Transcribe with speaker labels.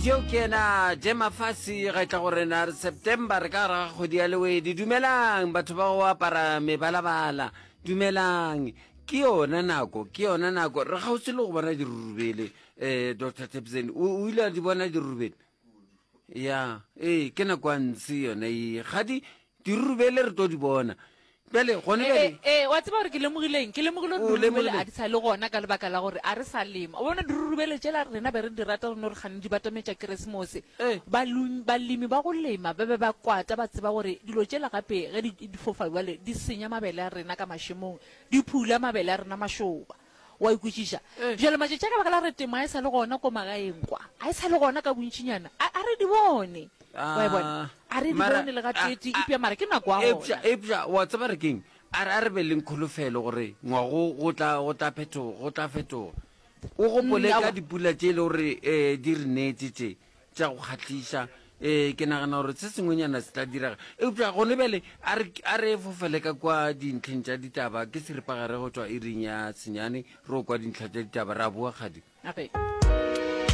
Speaker 1: Yo ke yena Jemafasi ga tla go rena re September re ka gare ga kgwedi ya Lewedi. Dumelang batho ba go apara mebalabala. Dumelang. Ke yona nako, ke yona nako. Re kgauswi le go bona dirurubele. Eh Dr. Tebsen, o ile a di bona dirurubele? Ya, ee, ke nako ya ntshe yona ye. Ga di dirurubele re tlo di bona. Bjale gone bjale.
Speaker 2: Ee, wa tseba gore ke lemogileng? Ke lemogile gore dirurubele a di sa le gona ka lebaka la gore a re sa lema. O bona dirurubele tšela rena be re di rata re no re kgane di batametša Keresemose. Balemi ba go lema ba be ba kwata ba tseba gore dilo tšela gape ge di fofa bjale di senya mabele a rena ka mašemong, di phula mabele a rena mašoba. O a e kwešiša? Bjale matšatši a ka baka la gore temo ga e sa le gona ko magaeng kwa, ga e sa le gona ka bontšinyana, a, a re di bone. Wa e bona? A re di
Speaker 1: Mara,
Speaker 2: bone le
Speaker 1: a,
Speaker 2: gateetee,
Speaker 1: a,
Speaker 2: eupša mara ke nako ya
Speaker 1: eupša,
Speaker 2: gona.
Speaker 1: eupša, wa tseba re keng? A re, a re be leng kholofelo gore ngwago go tla, go tla phetoga, go tla fetoga. O gopole
Speaker 2: Mm,
Speaker 1: ka
Speaker 2: aowa.
Speaker 1: dipula tše e le gore um di re neetše tše, tša go kgahliša. Ee, ke nagana gore se sengwenyana se tla direga. Eupša gone bjale a re, a re fofele ka kua dintlheng tša ditaba. Ke seripagare go tšwa iring ya senyane, re o kwa dintlha tša ditaba. Ra boa, kgadi.
Speaker 2: Okay.